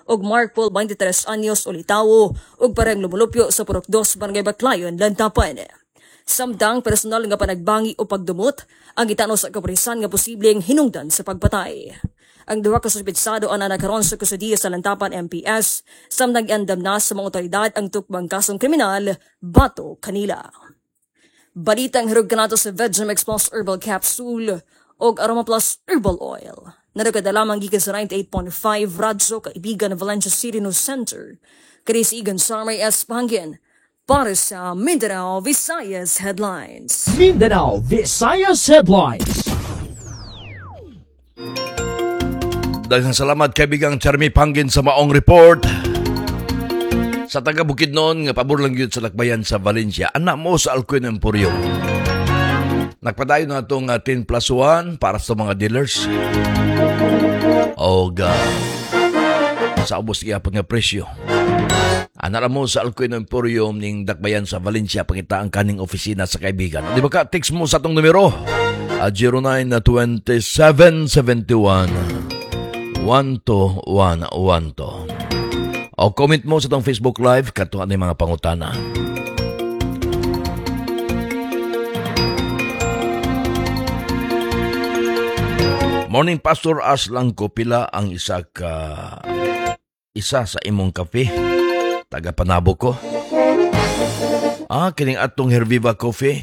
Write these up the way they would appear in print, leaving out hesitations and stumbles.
ug Mark Paul, 23 anyos, ulitawo ug parehong lumulupyo sa Purok 2, Barangay Baclayon, Lantapan. Samtang personal nga panagbangi o pagdumot ang gitano sa kapulisan nga posibleng hinungdan sa pagpatay. Ang duha ka suspetsado ana nakaron sa kustodiya sa Lantapan MPS, samtang giandam na sa mga otoridad ang tukbang kasong kriminal batok kanila. Balitang hirog kanato sa Vegemix Plus Herbal Capsule og Aroma Plus Herbal Oil. Naragada lamang gikan sa 98.5 Radyo Kaibigan ng Valencia City News Center. Chris Egan Sarmay S. Pangin para sa Mindanao Visayas Headlines. Mindanao Visayas Headlines. Daghang salamat, kaibigang Charmy Pangin, sa maong report. Sa taga Bukidnon nga pabor lang yun sa lakbayan sa Valencia. Anak mo sa Alcuin Emporium. Nagpadayon na itong 10 plus 1 para sa mga dealers. O sa ubos gihapon nga presyo. Ana mo sa Alcuin Emporium ning Dakbayan sa Valencia, pangita ang kaning opisina sa kaibigan. Di ba ka text mo sa atong numero? 0927 71 12112. O comment mo sa atong Facebook Live kato ang mga pangutana. Morning, Pastor As lang ko, pila ang isa sa imong kape? Taga Panabo ko. Kining atong Herviva Coffee.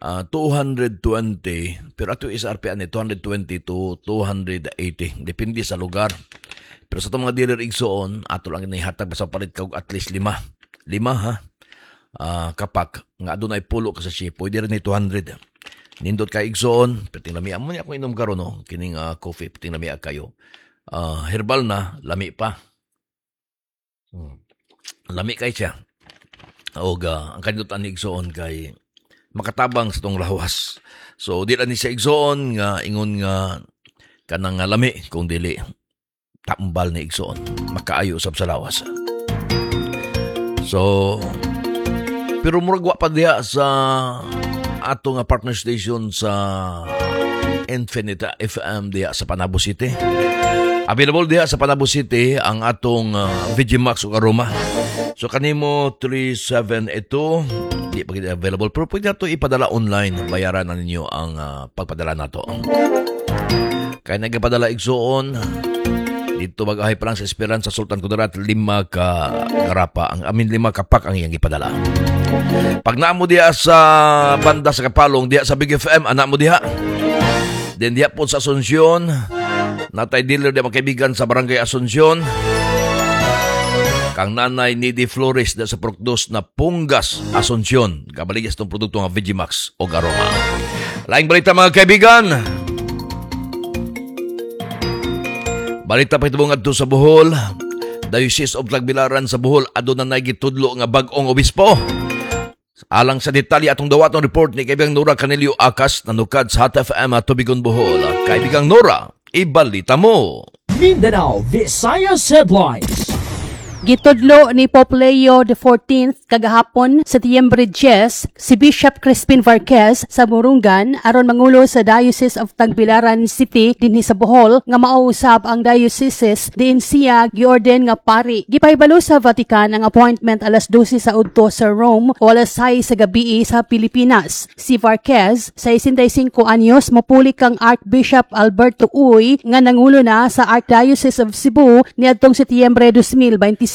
220, pero ato SRP ani 220 to 280, depende sa lugar. Pero sa itong mga dealer igsoon, ato lang inihatag basta palit ka og at least lima. Lima ha. Kapak nga adunay pulo ka sa ship, pwede rin ni 200. Nindot kay igsoon, perting lami mo niya akong inom karon, no, kining coffee, perting lami kayo. Herbal na, lami pa. Lami kay siya. Og ang kanindot ani igsoon kay makatabang sa tong lawas. So di lang ni siya, igsoon, nga ingon nga kanang nga lami, kung dili tambal ni igsoon, makaayo usab sa lawas. So pero murag wa pa diha sa ato nga partner station sa Infinite FM diha sa Panabo City. Available diha sa Panabo City ang atong VGMax ug Aroma. So kanimo 3782 di pa gid available, pero pwede nato ipadala online. Bayaran na ninyo ang pagpadala nato. Kay nagapadala igsuon dito, mag-ahay pa lang sa Esperanza, Sultan Kudarat, lima ka garapa ang amin, lima ka pack ang iyang ipadala. Pag naamo diha sa banda sa Kapalong diha sa Big FM, anak mo diha. Then diha po sa Asuncion, natay dealer diha, mga kaibigan, sa Barangay Asuncion. Kang Nanay Nidi Flores diha sa Purok 2 na Punggas, Asuncion. Kabaligya sa itong produkto nga Vegimax o Aroma. Laing balita, mga kaibigan. Balita pa itong adto sa Bohol. Diocese of Tagbilaran sa Bohol aduna nay gitudlo nga bag-ong obispo. Alang sa detalye, atong dawaton report ni kaibigang Nora Canelio Akas, nanukad sa Hot FM at Tubigon, Bohol. Kaibigang Nora, ibalita mo. Mindanao Visayas Headlines. Gitudlo ni Pope Leo XIV kagahapon, Setyembre 10, si Bishop Crispin Varquez sa Borongan aron mangulo sa Diocese of Tagbilaran City dinhi sa Bohol nga mao usab ang diocese diin siya giorden nga pari. Gipahibalo sa Vatican ang appointment alas 12 sa udto sa Rome o alas 6 sa gabi sa Pilipinas. Si Varquez, 65 anyos, mopuli kang Archbishop Alberto Uy nga nangulo na sa Archdiocese of Cebu niadtong Setyembre 2025.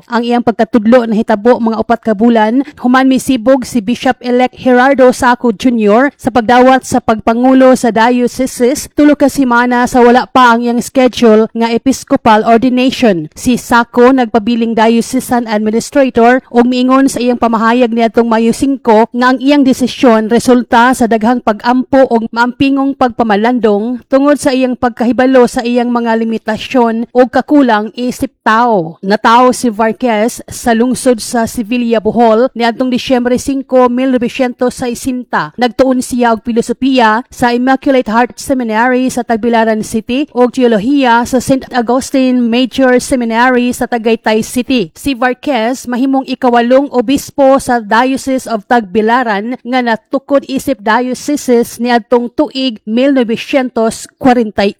Ang iyang pagkatudlo nahitabo mga 4 ka bulan human misibog si Bishop-elect Gerardo Saco Jr. sa pagdawat sa pagpangulo sa diocese 3 ka semana sa wala pa ang iyang schedule nga episcopal ordination. Si Saco nagpabiling diocesan administrator ug miingon sa iyang pamahayag niadtong Mayo 5 nga ang iyang desisyon resulta sa daghang pag-ampo ug maampingong pagpamalandong tungod sa iyang pagkahibalo sa iyang mga limitasyon ug kakulang isip tao. Natawo si Varquez sa lungsod sa Sevilla, Bohol niadtong Disyembre 5, 1960. Nagtuon siya og filosofiya sa Immaculate Heart Seminary sa Tagbilaran City ug teolohiya sa St. Augustine Major Seminary sa Tagaytay City. Si Varquez mahimong ikawalong obispo sa Diocese of Tagbilaran nga natukod isip diocese niadtong tuig 1941.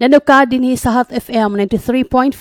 Nanuka dinhi sa Hot FM 93.5.